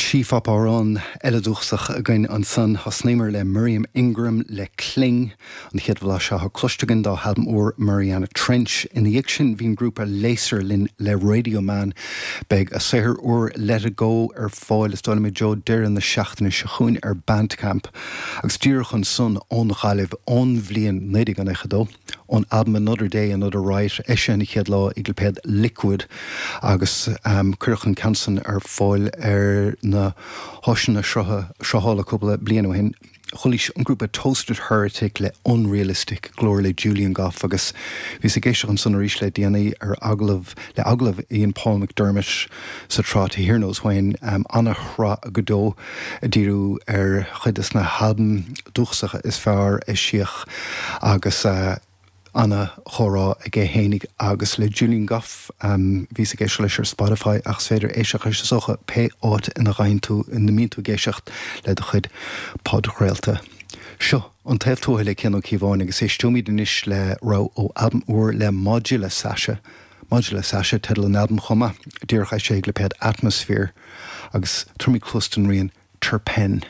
Sí-phop amhrán eile dúchasach againn ansan. Thosnaíomar le Miriam Ingram le Cling, an chéad bhlaiseadh atá cloiste againn dá halbam úr Mariana Trench. Ina dhiaidh sin bhí an grúpa Laser linn le Radio Man. Beidh a saothar úr Let It Go ar fáil is dóigh liom i dtreo deireadh na seachtaine seo chugainn ar Bandcamp. Agus díreach ansan ón Ghaillimh ón bhliain 1992. ón albam Another Day, Another Riot, eisithe an chéad lá ag lipéad Liquid agus cuireadh an ceann san ar fáil ar na háiseanna sruthála cúpla bliain ó shin. Chualaís an grúpa Toasted Heretic le Unrealistic, glór le Julian Gough agus bhíos ag éisteacht ansan arís le déanaí ar agallamh le agallamh a dhein Paul McDermott sa tsraith To Here Knows When, ana-shraith go deo ag díriú ar chuid des na halbaim dúchasacha is fearr a eisíodh agus ana-chomhrá aige fhéinig agus le Julian Gough. Bhíos ag éisteacht leis ar Spotify ach is féidir éisteacht leis is dócha pé áit ina bhfaigheann tú, ina mbíonn tú ag éisteacht le do chuid podchraolta. Seo An Taobh Tuaithe le Cian Ó Cíobháin agus éisteoimid anois le rogha ó albam úr le Modula Sasha. Modula Sasha teideal an albaim chomh maith, díreach eisithe ag lipéad Atmosphere agus tabharfaimid cluas don rian Terpen.